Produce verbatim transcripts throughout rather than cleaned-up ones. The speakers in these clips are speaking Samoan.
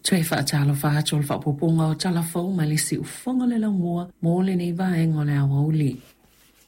Toe faatalofa atu o le faaopoopoga o Tala Fou mai le Siufofoga o le Laumua mo lenei vaega o le aoauli.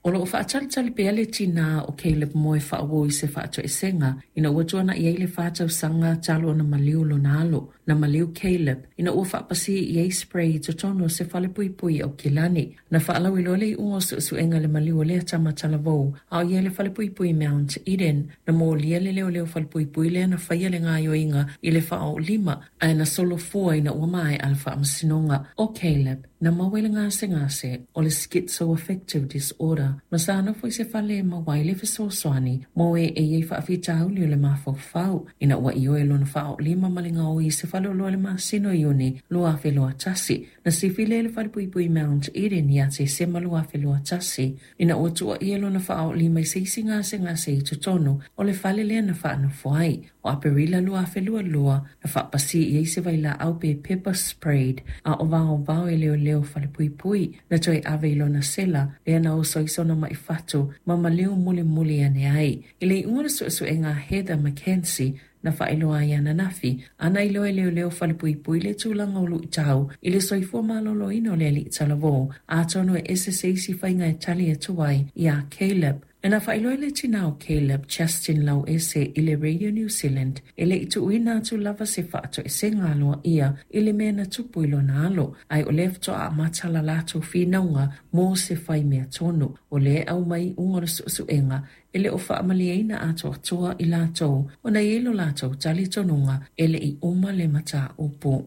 O loo faatalitali pea le tinā o Caleb Moe Faauo i se faatoesega ina ua tuanai ai le fa tausaga talu ona maliu lona alo. Na maliu Caleb ina ua faapasi i ai spray i totonu o se falepuipui i Aukilani. Na faalauiloa le iuga o suesuega i le maliu o lea tama talavou a o i ai i le falepuipui Mount Eden. Na molia le leoleo falepuipui lea na faia le gaoioiga i le faaoolima ae na solofua ina ua maea le faamasinoga. O Caleb na maua i le gasegase o le schizoaffective disorder ma sa nofo i se fale e maua ai le fesoasoani mo e e i ai faafitauli o le mafaufau ina ua ioe lona faaoolima ma le gaoi i se faleoloa i le masina o Iuni lua afe lua tasi. Na sifi lea i le falepuipui Mount Eden ia Tesema lua afe lua tasi ina ua tuuaia lona faaoolima i se isi gasegase i totonu o le fale lea na faanofo ai. O Aperila lua afe lua lua na faapasi i ai se vailaau pe pepper sprayed a o vaovao e leoleo falepuipui. Na toe ave i lona sela lea na oso ai sona mai fatu ma maliu mulimuli ane ai. I le iuga o le suesuega a Heather McKenzie na faailoa ai ananafi ana iloa e leoleo falepuipui le tulaga o luitau i le soifua maloloina o le alii talavou, atonu e ese se isi faiga e tali atu ai iā Caleb. Na faailoa le tinā o Caleb, Justin Lauese, i le Radio New Zealand e le i tuuina atu lava se faatoesega aloaia i le mea na tupu i lona alo, ae o lea faatoa amata la latou finauga mo se fai mea tonu. O lea e aumai iuga o le suesuega e le o faamalieina atoatoa i latou ona e i ai lo latou talitonuga e le i uma le mataupu.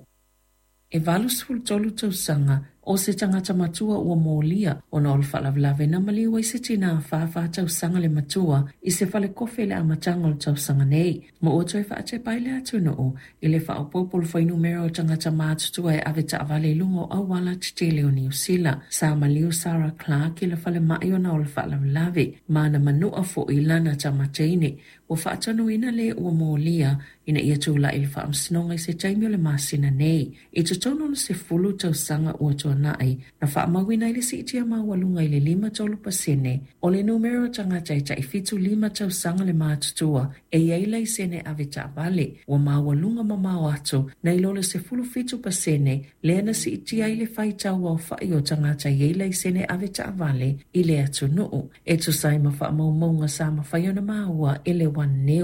E valu sefulu tolu tausaga o se tagata matua ua molia ona o le faalavelave na maliu ai se tinā fa tausaga le matua i se falekofe i le amataga o le tausaga nei, ma ua toe faatepa ai le atunuu i le faaopoopo o le fuainumera o tagata matutua e ave taavale i luga o auala tetele o Niu Sila. Sa maliu Sarah Clark i le falemai ona o le faalavelave ma na manua foi lana tama teine. Ua faatonuina le ua molia ina ia tulai i le faamasinoga i se taimi o le masina nei. I totonu o le sefulu tausaga ua tuanai, na faamauina ai le siitia maualuga i le lima tolu pasene o le numera o tagata e tai fitu lima tausaga le matutua e i ai laisene ave taavale. Ua maualuga mamao atu nai lo le sefulu fitu pasene lea na siitia ai le faitau aofai o tagata e i ai laisene ave taavale i le atunuu, e tusa ai ma faamaumauga sa mafai ona maua e le One News.